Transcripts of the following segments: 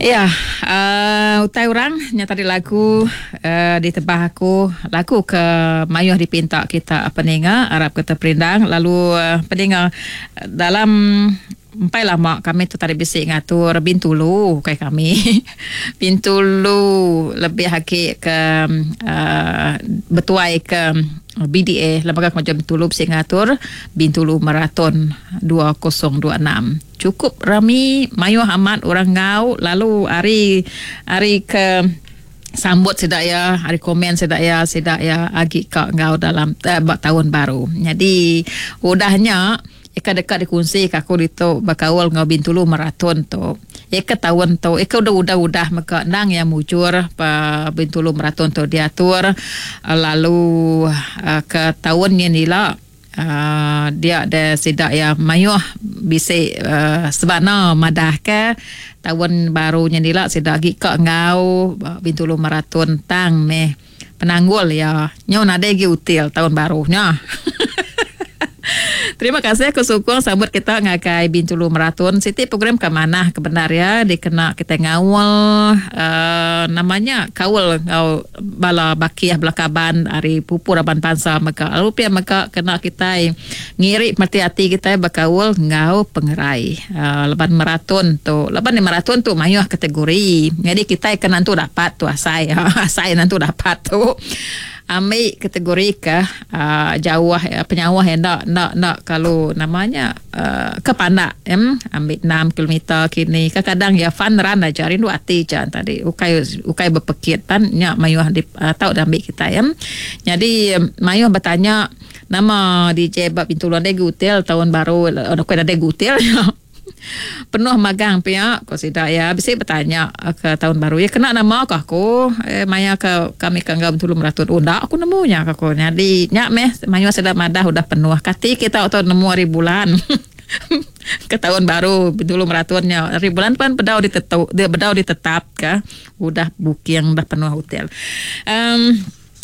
Iya, uh, utai orang nya tadi lagu uh, ditebah aku, lagu ke mayuh dipinta kita peninga, arap ke terperindang lalu uh, peninga dalam empai lama kami tu tadi bisi ngatur Bintulu kai kami. Bintulu lebih agi ke uh, betuai ke BDA Lembaga Kemajuan Bintulu bisi ngatur Bintulu Marathon 2026. Chukup rami mayuh amat orang enggau lalu ari ari ke sambut sida iya ari komen sida iya sida iya agi ka enggau dalam eh, ba taun baru. Nyadi udah nya ika deka dikunsi ka aku ditu bekaul enggau Bintulu Marathon tu. Ika taun tu ika udah udah udah mega endang iya mujur pa Bintulu Marathon tu diatur lalu eh, ke taun nyin ila Dia deh sida iya mayuh bisi sebana madahka taun baru nya ila sida agi ka enggau Bintulu Marathon tang meh penanggul iya nyau nadai agi util taun baru nya. Terima kasih aku sukung sambut kita ngagai Bintulu Marathon siti program ke manah ke bendar iya dikena kita ngaul uh, nama nya kaul enggau bala bakih bala kaban ari pupu raban bansa mega lalu pia mega kena kitai ngiri mereti ati kitai bekaul enggau pengerai uhh laban marathon tu laban marathon tu mayuh kategori nyadi kitai ke nentu dapat tu asai asai nentu dapat tu ambi kategori ke uhh jauh penyauh enda enda enda kalu nama nya. Ke pandak em ambi enam kilometer kini kadang iya fun run aja rindu ati ja tadi ukai ukai bepekit pan nya mayuh di tau diambi kitai em. Nyadi mayuh betanya nama DJ ba Bintulu nadai gutil taun baru ukai nadai gutil nya penuh magang pia ku sida iya bisi betanya ke taun baru iya kena nama ka aku eh maya ke kami ke enggau Bintulu Meratun unda aku nemu nya ka ku nyadi nya meh mayuh sida madah udah penuh kati kita tu nemu hari bulan ke taun baru Bintulu Meratun nya hari bulan pan bedau ditetu bedau ditetap ka udah booking dah penuh hotel um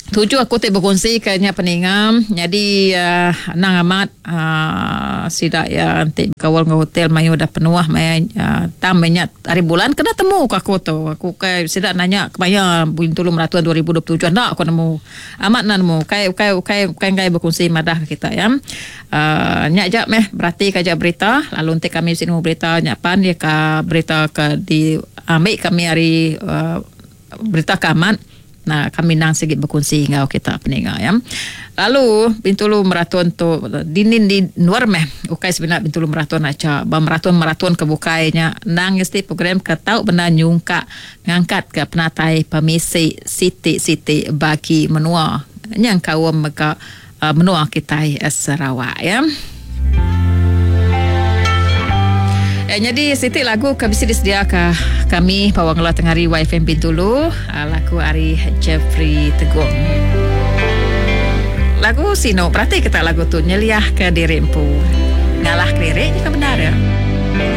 Tuju aku ti bekunsi ke nya peninga nyadi uhh anang amat uhh sida iya enti bekaul enggau hotel mayuh udah penuh maya uhh tang meh nya hari bulan kena temu ka aku tu. Aku kai sida nanya kemaya Bintulu Meratus 2027 enda aku nemu. Amat enda nemu ukai ukai ukai ukai enggai bekunsi madah ke kita iya. Uhh nya aja meh berati ka aja berita lalu enti kami bisi nemu berita nya pan iya ka berita ke di ambi kami ari uhh berita ke amat. Nah, kami endang sigi bekunsi enggau kita peninga ya. Lalu Bintulu Marathon tu dinin di endur meh ukai semina Bintulu Marathon aja. Ba marathon-marathon ke bukai nya endang mesti program ke tau bendar nyungkak ngangkat ke penatai pemisi siti-siti bagi menua nyengkaum mega menua kitai Sarawak ya. Nyadi siti lagu ke bisi disediaka kami ba Wang Ngelah Tengah Hari YFM Bintulu lagu ari Jeffrey Tegong. Lagu sinu berati kita lagu tu nyeliahka diri empu. Ngalah kediri nya ke bendar ya.